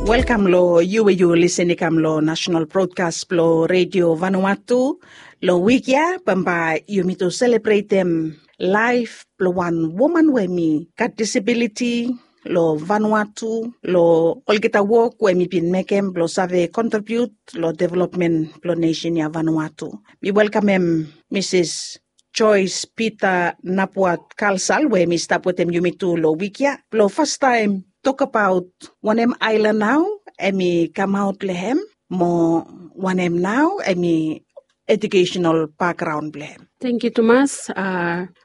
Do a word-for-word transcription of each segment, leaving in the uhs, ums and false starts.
Welkam long yu we yu lisin i kam long nasenal brodkas blong Redio Vanuatu. Long wik ya bambae yumi tu selebretem laef blong wan woman we mi gat disabiliti long Vanuatu, long olgeta wok we mi bin mekem blong save kontribiut long developmen blong nesen ya Vanuatu. Mi welkamem Misis Joyce Peter Napuat Kalsal we mi stap wetem yumi tu long wik ya blong fastaem tokbaot wanem aelan nao em i kamaot long hem, mo wanem nao em i ejukesenal bakgraon blong hem. Tangkiu tumas.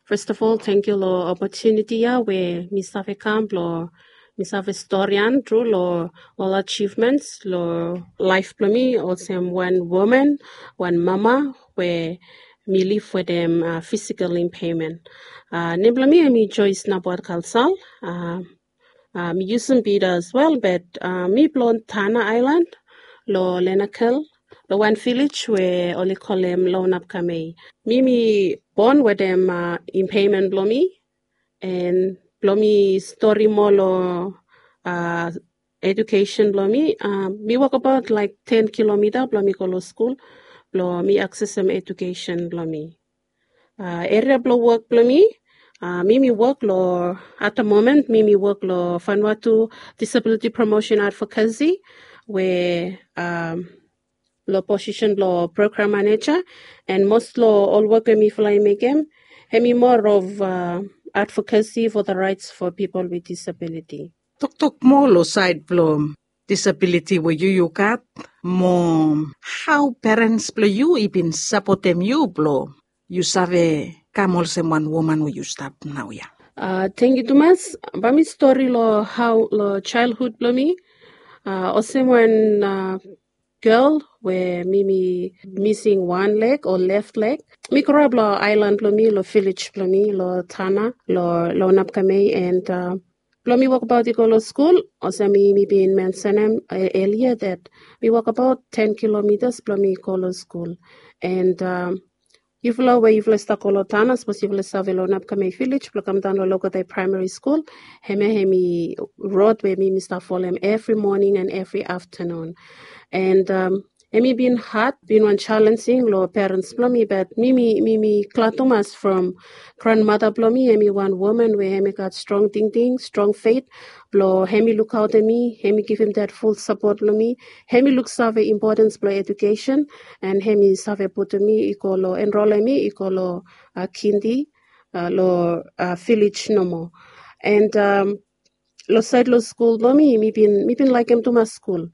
Fes of ol tangkiu long opotuniti ya we mi save kam blong mi save storian tru long ol ajivmens long laef blong mi olsem wan woman, wan mama we mi liv wetem fisikal impemen. Nem blong mi em i Joyce Napuat Kalsal. Mi yusum Peter as well, but mi blong Tanna Aelan long Lenakel, long wan vilej we oli kolem Lounapkamei. Mi mi bon wetem impemen blong mi, en blong mi stori moa long ejukesen blong mi, mi wokbaot laek ten kilomita blong mi go long skul blong mi aksesem ejukesen blong mi. Eria blong wok blong mi, mi mi wok long at da momen mi mi wok long Vanuatu Disabiliti Promosen Advokasi we long posisen blong program maneja, en mos long ol wok we mifala i mekem hem i moa of advokasi fo da raets fo pipol with disabiliti. Toktok moa long saed blong disabiliti we yu yu gat, mo hao perens blong yu i bin sapotem yu blong yu save kam olsem wan woman we yu stap naoia? Tangkiu tumas. Bae mi stori long hao long jaelhud blong mi. Olsem wan gel we mi mi mising wan leg o lef leg. Mi groap long aelan blong mi long vilej blong mi long Tanna long Lounapkamei, en blong mi wokbaot i go long skul olsem mi mi bin mensenem elia dat mi wokbaot ten kilomitas blong mi go long skul. En yufala we yufala i stap go long Tanna, sapos yufala i save long Lounapkamei vilej blong kamdaon long Logotai Praemari Skul, hemia hem i rod we mi mi stap folem evri moning en evri aftanun. En hem i bin had, bin wan jalenjing long perens blong mi, bat mi mi mi mi glad tumas from granmata blong mi hem i wan woman we hem i gat strong tingting, strong fet blong hem i lukaotem mi, hem i givim dat ful sapot long mi. Hem i luksave impotens blong ejukesen, en hem i save putum mi i go long, enrolem mi i go long kindi long vilej nomo. En long saed long skul blong mi, mi bin mi bin laekem tumas skul.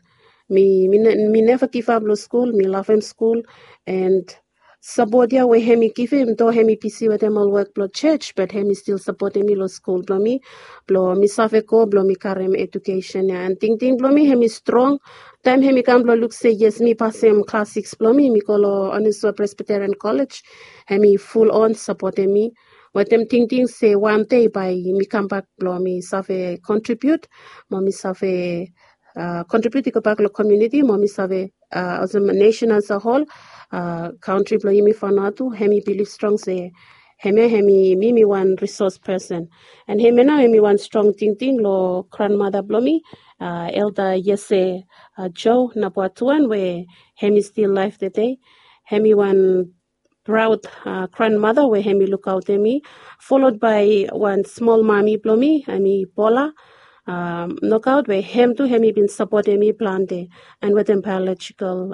Mi mi neva givap long skul, mi lavem skul. En sapot ya we hem i givim, do hem i bisi wetem ol wok blong jos, bat hem i stil sapotem mi long skul blong mi, blong mi save go blong mi karem ejukesen ya. En tingting blong mi hem i strong taem hem i kam blong luk se yes, mi pasem klas sikis blong mi, mi go long Onisua Presbiterian Kolej. Hem i fulon sapotem mi wetem tingting se wan dei bae mi kambak blong mi save kontribiut, mo mi save kontribiut i gobak long komuniti, mo mi save olsem nesen as a hol, kantri blong yumi Vanuatu hem i bilif strong se hemia hem i mi mi wan risos pesen. En hemia nao hem i wan strong tingting long granmata blong mi, Elda Yese Jo Napuatuan, we hem i stil laef tede. Hem i wan praod granmata we hem i lukaotem mi, folod bae wan smol mami blong mi, hem i Bola Nokaot, we hem tu hem i bin sapotem mi plante, en wetem baeolojikal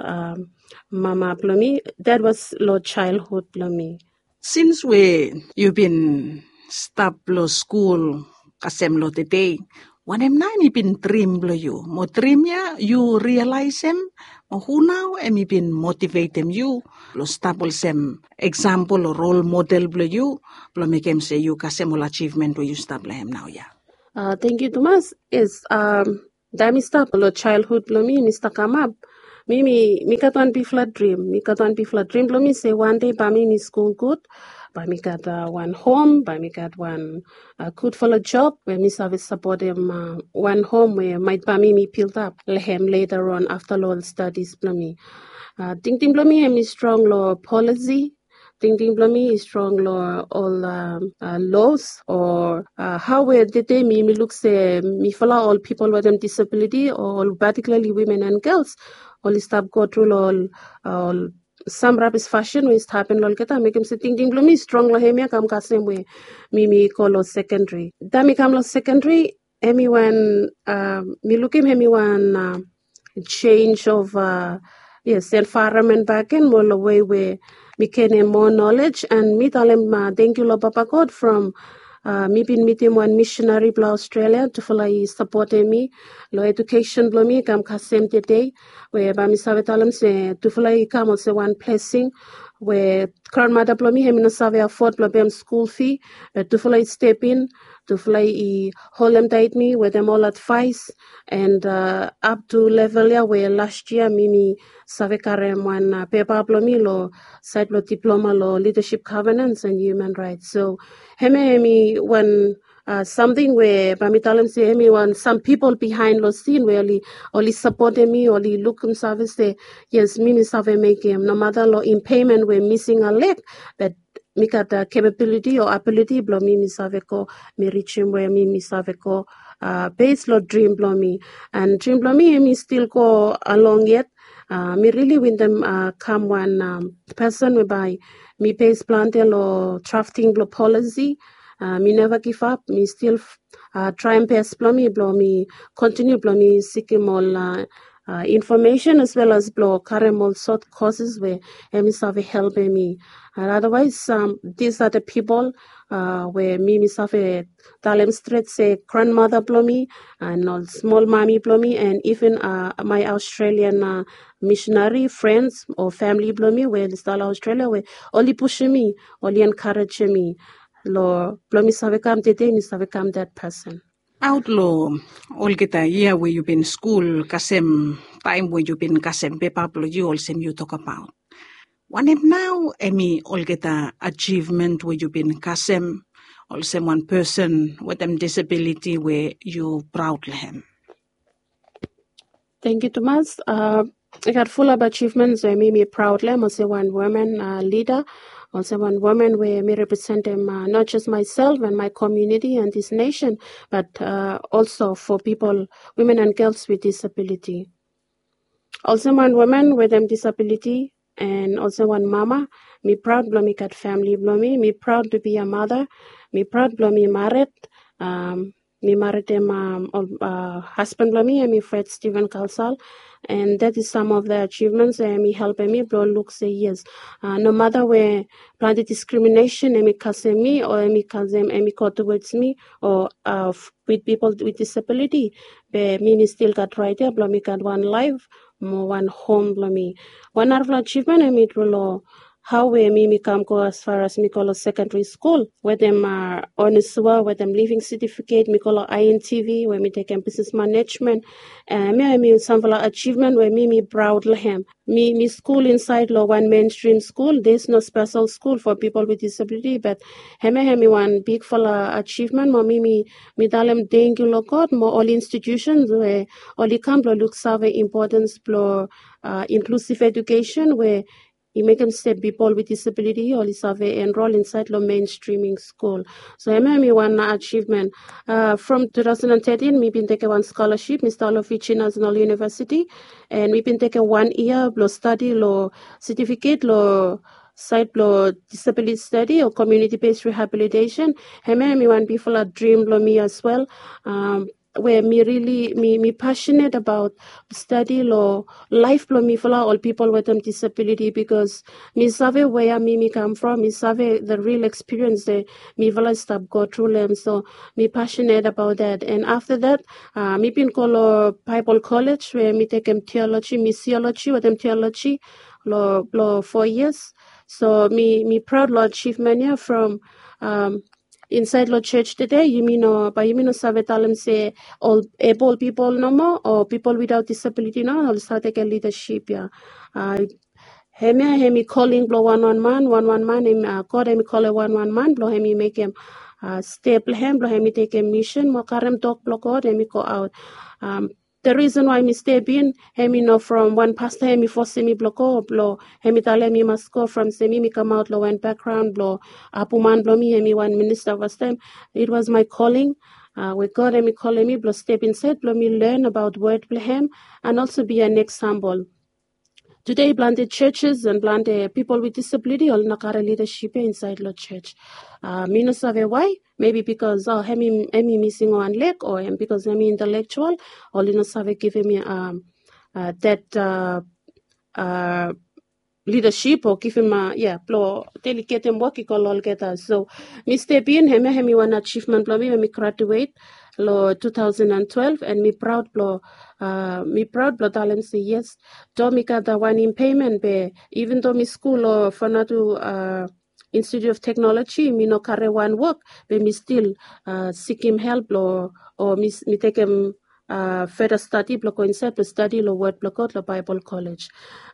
mama blong mi. Dat was long jaelhud blong mi. Sins we yu bin stap long skul kasem long tede, wanem nao hem i bin drim blong yu? Mo drim ya yu rialaesem, mo hu nao hem i bin motivetem yu blong stap olsem eksampol o rol model blong yu, blong mekem se yu kasem ol ajivmen we yu stap long hem naoia? Tangkiu tumas. Yes, taem mi stap long jaelhud blong mi, mi stap kamap, mi mi mi gat wan bigfala drim. Mi gat wan bigfala drim blong mi se wan dei bae mi mi skul gud, bae mi gat wan hom, bae mi gat wan gudfala job we mi save sapotem wan hom we maet bae mi mi bildap long hem leta on afta long ol stadis blong mi. Tingting blong mi hem i strong long polisi, tingting blong mi i strong long ol los o hau we tete mi mi luk se mifala ol pipol wetem disabiliti o ol patikulali wimen and gels oli stap go tru long ol sam rabis fasin we i stap hapen long olgeta mekim se tingting blong mi i strong long hemia kam kasem we mi mi go long sekendri. Taem mi kam long sekendri, hemi wan mi lukim hemi wan jenis of yes envaeronmen baken mo long wei we mi genim moa nolej and mi talem tangkiu long papa god from mi bin mitim wan misinari blong australia tufala i sapotem mi long edukesen blong mi i kam kasem tede we bae mi save talem se tufala i kam olsem wan blesing we granmata blong mi hemi no save afod blong pem skul fi be tufala i step in tufala i holem tait mi wetem ol advaes and ap tu level ya we las yia mi mi save karem wan pepa blong mi long saed blong diploma long lidasip gavenans and human raets so hemia hemi wan samting we bae mi talem se hemi wan sam pipol bihaen long sin we oli sapotem mi oli lukim save se yes mi mi save mekem nomata long impemen we mising a leg bat mi gat kapabiliti o abiliti blong mi mi save go mi rijim we mi mi save go bes long drim blong mi and drim blong mi hemi stil go along yet mi rili wintem kam wan pesen we bae mi bes plante long drafting blong polisi mi neva givap mi stil traem bes blong mi blong mi kontiniu blong mi sikim ol infomesen as wel as blong karem ol sot koses we em i save helpem mi. And otherwise, these are the people we mi mi save talem stret se granmata blong mi and ol smol mami blong mi and even my australian misinari frens o famili blong mi we oli stap long australia we oli pusim mi, oli enkarejem mi long blong mi save kam tede mi save kam dat pesen. Aot long olgeta yia we yu bin skul kasem taem we yu bin kasem pepa blong yu olsem yu tokabaot wanem nao em i olgeta ajivmen we yu bin kasem olsem wan pesen wetem disabiliti we yu praod long em? Thank you tumas. I gat fulap ajivments we mi mi praod long em olsem wan women lida, olsem wan women we mi representim not just myself and my community and this nation, but also for people, women and girls with disability. Olsem wan women wetem disabiliti and olsem wan mama, mi praod blong mi gat famili blong mi. Mi praod to be a mother. Mi praod blong mi marit. Mi maritim hasban blong mi em i fred steven kalsal. And that is some of the achievements we em i helpim mi blong luk se yes, nomata we plante diskriminesen em i kasem mi o em i kasem em i go towards mi o with pipol with disabiliti, be mi mi stil gat rait ya blong mi gat wan laef mo wan hom blong mi. Wan narafala ajivmen em i tru long hau we mi mi kam go asfar as mi go long sekendari skul wetem onesua wetem living setifiket mi go long intv we mi tekem bisnes manejmen. Em ya em i samfala ajivmen we mi mi praod long em. Mi mi skul insaed long wan menstrim skul, there is no spesel skul for pipol with disabiliti bat em ya em i wan bigfala ajivmen mo mi mi mi talem tengkiu long god mo ol institusens we oli kam blong luksave impotens blong inklusiv edukesen we i mekem se pipol with disabiliti oli save enrol insaed long menstriming skul. So em em i wan ajivmen. From two thousand and thirteen mi bin tekem wan skolaship mi stap long fiji national universiti, and mi bin tekem wan yia blong stadi long setifiket long saed blong disabiliti stadi o komiuniti bes rehabilitesen. Em em i wan bigfala drim blong mi as wel. We mi rili mi mi pasinet abaot stadi long laef blong mifala ol pipol wetem disabiliti bikos mi save wea mi mi kam from, mi save the ril ekspiriens we mifala i stap go tru long em. So mi pasinet abaot dat. And afta dat mi bin go long baibol kolej we mi tekem tioloji, misioloji wetem tioloji long blong fo yias. So mi mi praod long ajivmen ya from insaed long jos tede yumi no bae yumi no save talem se ol ebol pipol nomo o pipol widaot disabiliti no oli save tekem lidasip ya. Hemia hem i koling blong wanwan man wanwan man hem god hem i kolem wanwan man blong hem i mekem step long hem blong hem i tekem misen mo karem tok blong god hem i go aot. The reason why mi step in, hemi no from wan pasta hemi fosim mi blong go, blong hemi talem mi mas go from se mi mi kamaot long wan background blong apuman blong mi hemi wan minista fastem. It was my calling. Uh, we God hemi kolem mi blong step inside blong mi learn about word blong hem and also be an example. Today, planted churches and planted people with disability ol no kare leadership ia inside long church. Uh, mi no save why. Maybe because oh, hemi hemi missing one leg, or hemi because hemi intellectual, ol i no save givim mi um, uh, that uh, uh, leadership o givim uh, yeah, blong delegatem wok i go long olgeta. So mi step in, hemia hemi wan achievement blong mi when mi graduate long two thousand and twelve, and mi proud blong uh, mi proud blong talem se yes, do mi gat da wan impairment be even though mi skul long Vanuatu uh, Institute of Technology, mi no kare wan wok be mi stil uh, sikim help long o mi, mi tekem uh, further study blong go inside blong study long word blong God long Bible College.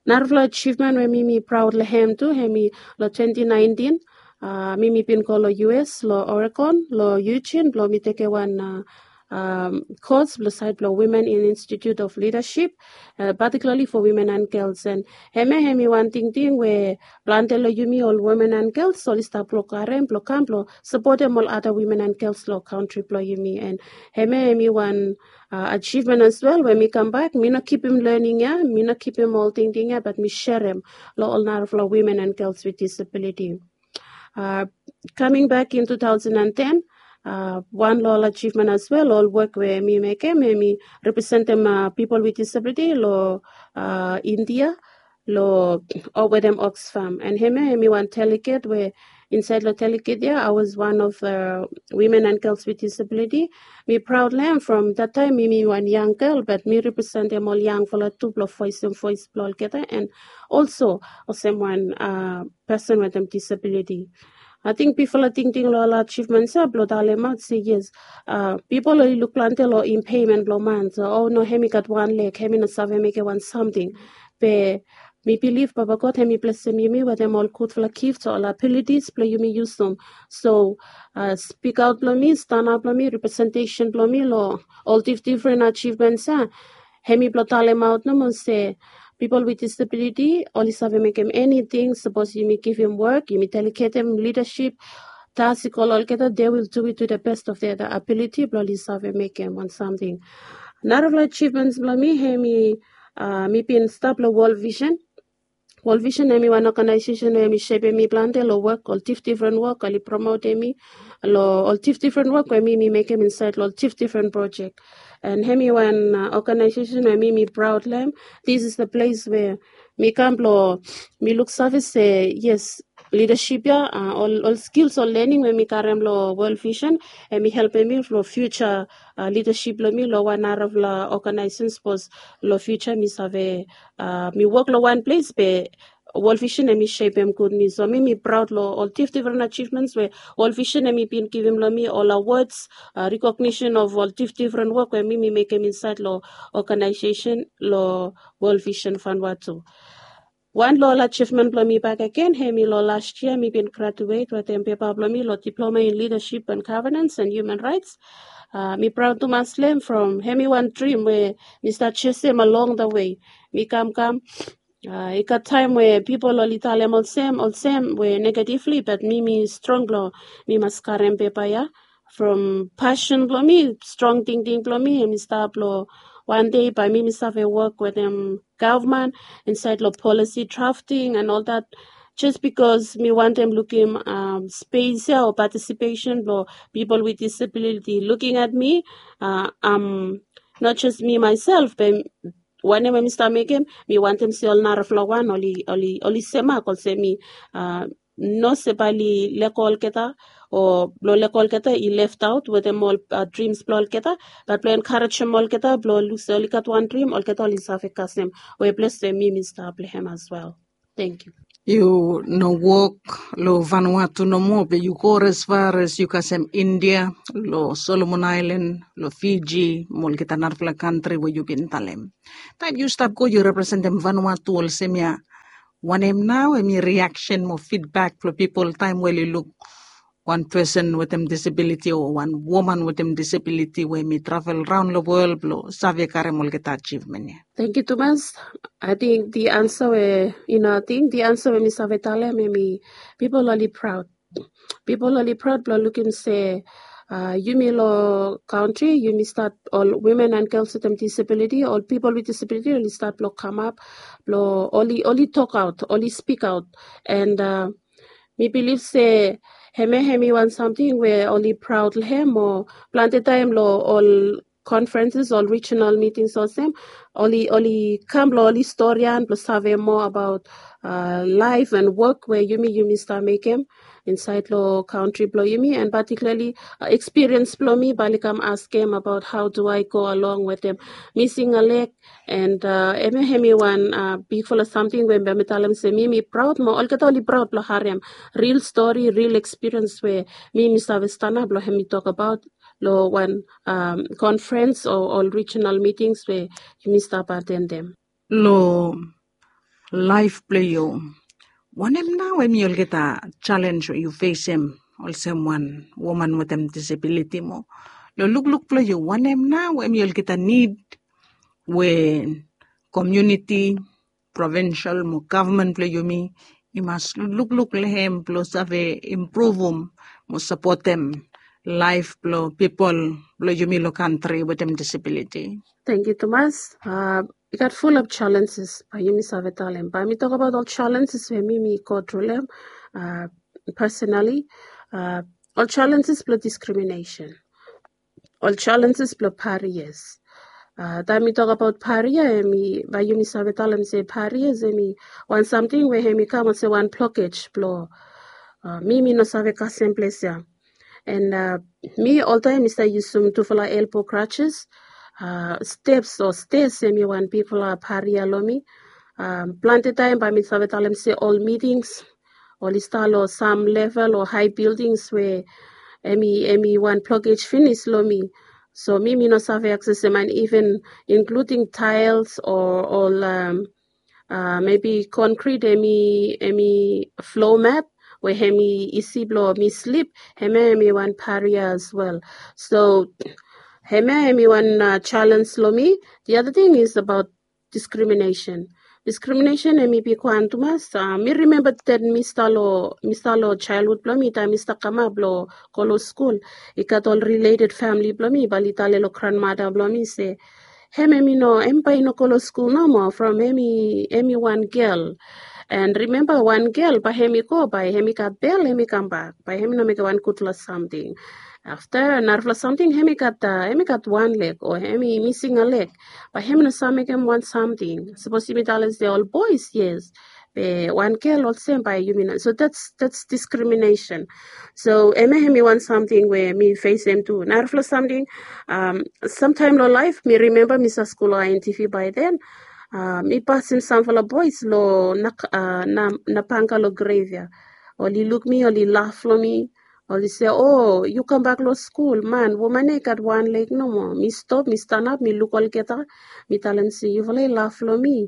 Narafala achievement we mi mi proud long hem tu, hemi long twenty nineteen uh, mi mi bin go long U S long Oregon long Eugene blong mi tekem wan uh, um, course blong side blong Women in Institute of Leadership, uh, particularly for women and girls. And hemia hemi wan tingting we plante long yumi ol women and girls ol i stap blong karem blong kam blong supportem ol other women and girls long country blong yumi. And hemia hemi wan uh, achievement as well. When mi kam back, mi no kipim learning ia, mi no kipim ol tingting ia, but mi sharem long ol narafala women and girls with disability. Uh, coming back in two thousand and ten, uh, wan long ol achievement as well, ol wok we mi mekem, hemi representem uh, people with disability long uh, India, long o wetem Oxfam. And hemia hemi wan delegate we inside long delegate ia, I was one of the women and girls with disability. Mi proud long hem from that time mi mi wan young girl, but mi representem ol yangfala tu blong voice and voice blong olgeta, and also olsem wan uh, person wetem disability. Ating bifala tingting long ol achievement ia blong talemaot se yes, uh, pipol oli luk plante long impairment blong man, so o no, hemi gat wan leg, hemi no save mekem wan samting. Be mi bilif Papa God hemi blesem yumi wetem ol gudfala gift o ol abilities blong yumi yusum. So uh, spikaot blong mi, stanap blong mi, representation blong mi long ol difdifren achievements ia, hemi blong talemaot nomo se people with disability oli save mekem anything. Sapos yumi givim wok, yumi delegatem leadership task i go long olgeta, they will do it to the best of their ability blong oli save mekem wan samting. Narafala achievements blong mi hemi uh, mi bin stap long World Vision. World Vision hemi wan organization we hemi shepem mi plante long wok, ol difdifren wok oli promotem mi long ol difdifren wok we mi mi mekem inside long ol difdifren project. And hemi wan uh, organization we mi mi proud long hem. This is the place where mi kam blong mi luksave se yes, leadership ia uh, ol, ol skills, ol learning we mi karem long World Vision, hemi helpem mi long future uh, leadership blong mi long wan narafala organization. Sapos long future mi save uh, mi wok long wan ples be World Vision hemi shepem gud mi. So mi mi proud long ol difdifren achievements we World Vision hemi bin givim long mi, ol awards, uh, recognition of ol difdifren wok we mi mi mekem inside long organization long World Vision Vanuatu. Wan long ol achievement blong mi bakegen hemi long last year mi bin graduate wetem pepa blong mi long Diploma in Leadership and Governance and Human Rights. Uh, mi proud tumas long hem from hemi wan dream we mi stap chasem along the way. Mi kam kam uh, i gat taem we pipol oli talem olsem olsem we negatively, but mi mi strong blong mi mas karem pepa ia. From passion blong mi, strong tingting blong mi, hemi stap long wan dei bae mi mi save wok wetem gavman insait long policy drafting and ol dat. Just bikos mi wantem lukim um, space ia o participation blong pipol with disability looking at me. Uh, um, not just me myself, be wanem we mi stap mekem, mi wantem se ol narafala wan oli oli oli semak olsem mi. Uh, no se bae oli lego olgeta o blong lego olgeta i left out wetem ol uh, dreams blong olgeta, bat blong encouragem olgeta blong luk se oli gat wan dream, olgeta oli save kasem we ples we mi mi stap long hem as well. Thank you. Yu no wok long Vanuatu nomo, be yu go as far as yu kasem India, long Solomon Island, long Fiji, mo olgeta narafala kantri we yu bin talem. Taem yu stap go yu representem Vanuatu olsem ia, wanem nao hemi reaction mo feedback blong pipol taem we oli luk wan pesen wetem disabiliti o wan woman wetem disabiliti we mi travel raon long wol blong save karem olgeta achivmen ya. Thank you tumas. I think the answer we you know I think the answer we mi save talem em i people oli proud. People oli proud blong lukim se uh, yumi lo country yumi start all women and girls with disability, all people with disability oli start blong come up blong oli oli talk out, oli speak out, and uh, mi bilif se hemia hemi wan samting we oli proud long hem o planti taim long ol conferences ol regional meetings olsem oli oli kam long oli storian blong save moa abaot uh, laif and wok we yumi yumi stap mekem insait long kantri blong yumi and particularly uh, experience blong mi bali kam askem abaot how do I go along with them missing a leg and uh, hemia hemi wan uh, bigfala samting we mi talem se mi mi proud mo olgeta oli proud blong harem real story, real experience we mi mi save stanap long hemi tok abaot long wan um, conference o ol regional meetings we yumi stap attend them. Long laif blong yu, wanem nao em i olgeta challenge we yu fesim olsem wan woman wetem disabiliti mo long lukluk blong yu, wanem nao em i olgeta nid we komuniti, provinsel mo gavman blong yumi i mas lukluk long hem blong save impruvum mo sapotem laif blong pipol blong yumi long kantri wetem disabiliti? Thank you tumas. Uh, i gat full of challenges bae yumi save talem bae mi tok abaot ol challenges we mi mi go tru long uh, personally uh, ol challenges blong discrimination, ol challenges blong barriers. Uh, taem mi tok abaot barrier em i bae yumi save talem se barriers em i wan samting we em i kam olsem wan blockage blong uh, mi mi no save kasem ples ya. And uh, mi oltaem mi stap yusum tufala elbow crutches, uh, steps o stairs em i wan bigfala barrier long mi. Um, planti taem bae mi save talem se ol meetings oli stap long sam level o high buildings we em i em i wan blockage finis long mi. So mi mi no save accessem and even including tiles o ol um, uh, maybe concrete em i em i floor mat we em i isi blong mi slip, hemia em i wan barrier as well. So hemia em i wan uh, challenge long mi. The other thing is about discrimination. Discrimination em i bigwan tumas. Uh, mi remember that mi start long mi start long childhood blong mi taem mi start kamap blong go long skul. I gat ol related family blong mi bali tale long grandmother blong mi se hem em i no em bae i no go long skul nomo from em i em i wan gel. And remember wan gel bae em i go bae em i gat bel em i kambak bae em i no mekem wan gudfala samting. Afta narafala samting em i gat uh, em i gat wan leg o em i mising a leg. Bae em i no save mekem wan samting. Sapos yumi talem se ol boys yes, be wan gel olsem bae yumi no. So that's that's discrimination. So em em i wan samting we mi fesem tu. Narafala samting um, samtaem long laef mi remember mi sa skul long I N T V bae then. Uh, mi pasim samfala boys long na, uh, na, na panga long grave ya. Oli luk mi, oli laf long mi. Oli se, "O, yu kambak long skul, man, woman ya i gat wan leg nomo." Mi stop, mi stanap, mi luk olgeta. Mi talem se, "Yufala i laf long mi.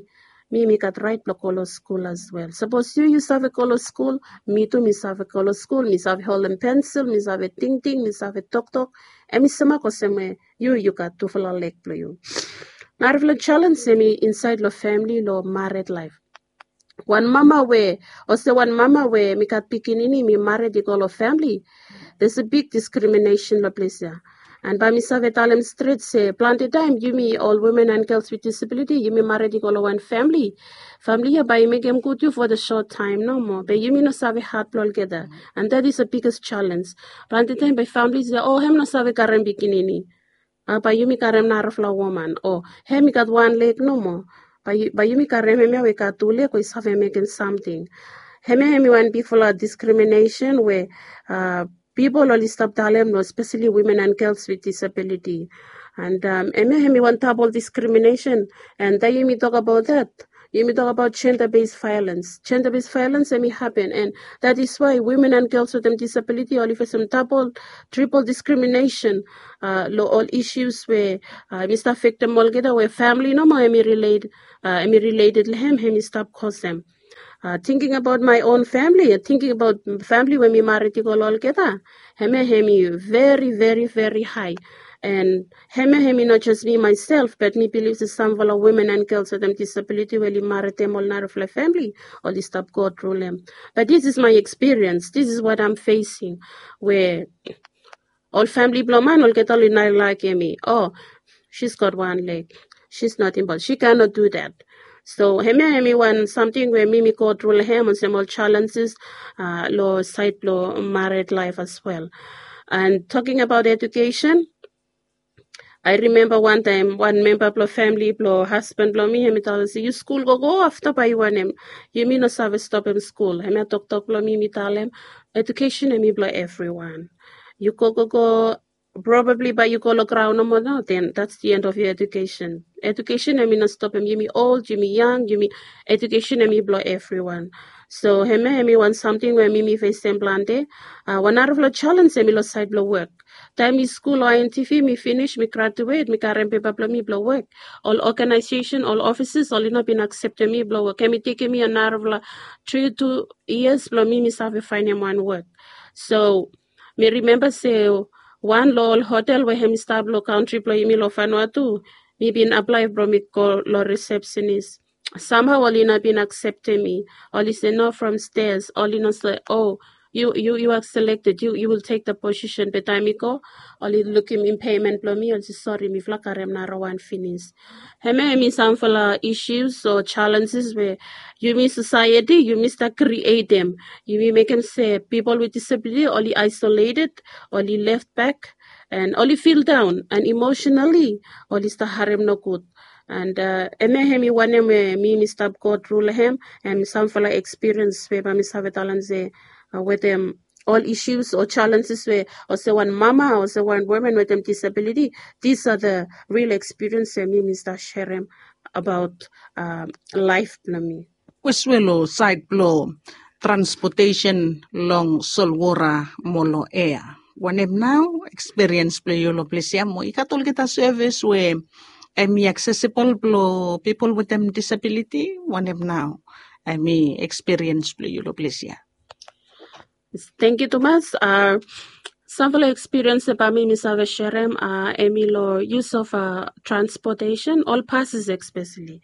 Mi mi gat raet blong go long skul as well. Sapos yu yu save go long skul, mi tu mi save go long skul, mi save holem pensil, mi save tingting, mi save toktok." Em i semak olsem we yu yu gat tufala leg blong yu. Narafala challenge em i insaed long famili long mared laef. Wan mama we olsem wan mama we mi gat pikinini mi mared i go long famili. There's a big discrimination long ples ya. And bae mi save talem stret se planti taem yumi ol women and girls with disability yumi mared i go long wan famili. Famili ya bae i mekem gud yu for the short time nomo be yumi no save hat blong olgeta. And that is the biggest challenge. Planti taem bae famili se, "O, em no save karem pikinini." Uh, bae yumi karem narafala woman o hem i gat wan leg nomo. Bae yumi karem hemia we i gat tu leg we i save mekem samting. Hemia hem i wan bigfala discrimination we uh, pipol oli stap talem long especially women and girls with disability. And um, hemia hem i wan double discrimination. And taem yumi tok abaot that, yumi tok abaot gender based violence. Gender based violence em i happen and that is why women and girls with disability oli fesem double, triple discrimination uh, long ol issues we uh, em i stap affectem olgeta we famili nomo em i relate uh, em i related long hem em i stap kosem. Tingting abaot my own famili, tingting abaot famili we mi marit i go long olgeta, hemia hem i veri veri veri hai. And hemia hem i not just me myself, but mi bilif se samfala women and girls wetem disabiliti we oli maritim ol narafala famili, oli stap go tru long hem. But this is my experience, this is what I'm facing, we ol famili blong man olgeta oli nai laikim mi. Oh, she's got one leg, she's not able, she cannot do that. So hemia hem i wan samting we mi mi go tru long hem olsem ol challenges long sait blong marit laif as well. And talking about education, I remember one time one member blong family blong husband blong me, hemi talem se, "You school go go after by you and him. You me no save stop him school." Hemia toktok blong me, me talem, "Education hemi blong everyone. You go go go, probably by you go long ground no more now, then that's the end of your education. Education hemi no stop him. You me old, you me young, you me education hemi blong everyone." So hemia hemi wan samting we mi mi facem planti. Uh, wan narafala challenge hemi long side blong work. Taem mi skul long I N T V, mi finish, mi graduate, mi karem pepa blong mi blong wok. Ol organization, ol offices, oli no bin akseptem mi blong wok. Hemi tekem mi narafala tri tu yias blong mi mi save faenem wan wok. So mi rimemba se wan long ol hotel we hemi stap long kantri blong yumi long Vanuatu, mi bin aplae blong mi go long receptionist. Samhao oli no bin akseptem mi. Oli se, "No, from stairs." Oli no se, "Oh, you, you, you are selected. You, you will take the position." Be taem mi go, oli lukim impairment blong mi, oli se, "Sori, mifala karem narawan finis." Hemia hemi samfala issues o challenges we yumi society, yumi stap createm. Yumi mekem se people with disability oli isolated, oli left back, and oli feel down, and emotionally oli stap harem nogud. And uh, hemia hemi wanem we mi mi stap go tru long hem, and samfala experience we bae mi save talem se uh, wetem ol issues o challenges we olsem wan mama, olsem wan woman wetem disability, these are the real experience we mi mi stap serem abaot uh, laef blong mi. Kwes we long saed blong transportation long solwora mo long ea, wanem nao experience blong yu long ples ya? Mo i gat olgeta service we hemi accessible blong people wetem disability? Wanem nao hemi experience blong yu long ples ya? Thank you tumas. Uh, samfala experience we bae mi mi save serem uh, hemi long use of uh, transportation, ol passes especially.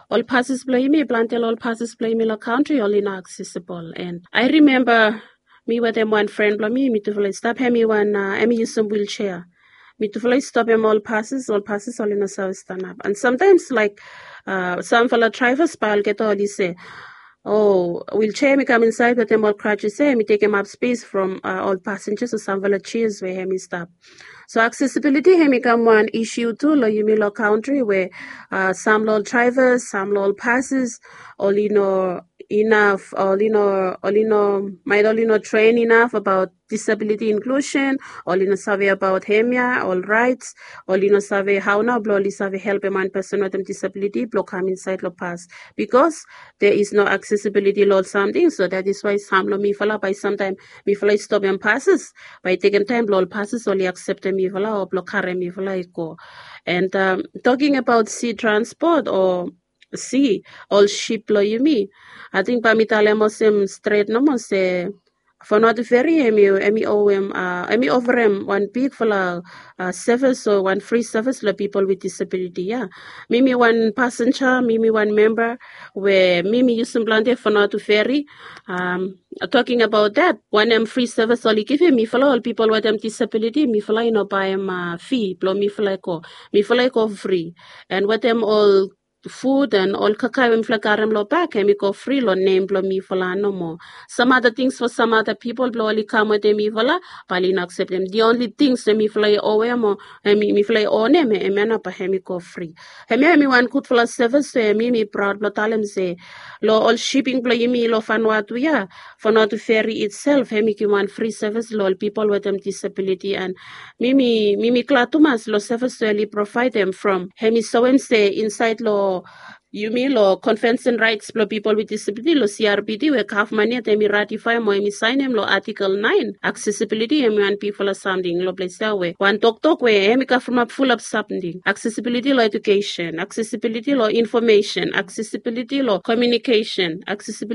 Ol passes blong yumi, planti ol passes blong yumi long kantri oli no accessible. And I remember mi wetem wan fren blong mi, mitufala i stap, hemi wan uh, hemi yusum wheelchair. Mitufala i stopem ol passes, ol passes oli no save stanap. And sometimes like uh, samfala drivers bae olgeta oli se, "Oh, wheelchair hemi kam insaed wetem ol crutches ya, hemi tekem ap space from uh, ol passengers o samfala chairs we hemi stap." So accessibility hemi kam wan issue tu long yumi long kantri we uh, sam long ol drivers, sam long ol passes, oli no inaf, oli no, oli no, maet oli no train inaf abaot disability inclusion, oli no save abaot hemia, ol rights, oli no save hao nao blong oli save helpem wan pesen wetem disability blong kam insaed long pas, because there is no accessibility long ol samting. So that is why sam long mifala bae samtaem mifala i stopem passes, bae i tekem taem blong ol passes oli akseptem mifala o blong karem mifala i go. And um, talking about sea transport o sea, ol sip blong yumi, ating bae mi talem olsem stret nomo se Vanuatu Ferry hemi, hemi owem uh, hemi oferem wan bigfala uh, service o wan free service long people with disability ya. Mi mi wan passenger, mi mi wan member we mi mi yusum planti Vanuatu Ferry. Um, talking about that, wanem free service oli givim mifala ol people wetem disability, mifala i no baem uh, fee blong mifala i go. Mifala i go free. And wetem ol food and ol kakae we mifala i karem long bak, hemi go free long nem blong mifala nomo. Some other things for some other people blong oli kam wetem mifala, bae oli no akseptem. The only things we mifala i owem o hemi, mifala i onem, hemia nao bae hemi go free. Hemia hemi wan gudfala service we mi mi proud blong talem se long ol shipping blong yumi long Vanuatu ya, Vanuatu Ferry itself hemi givim wan free service long ol people wetem disability. And mi mi, mi mi glad tumas long service we oli provaedem from hemi soem se insaed long yumi long Convention Rights blong People with Disability, long C R P D, we gavman yet hemi ratifaem o hemi saenem long Article nine, accessibility hemi wan bigfala samting long ples ya we wan toktok we hemi kavemap fulap samting. Accessibility long education, accessibility long information, accessibility long communication, accessibility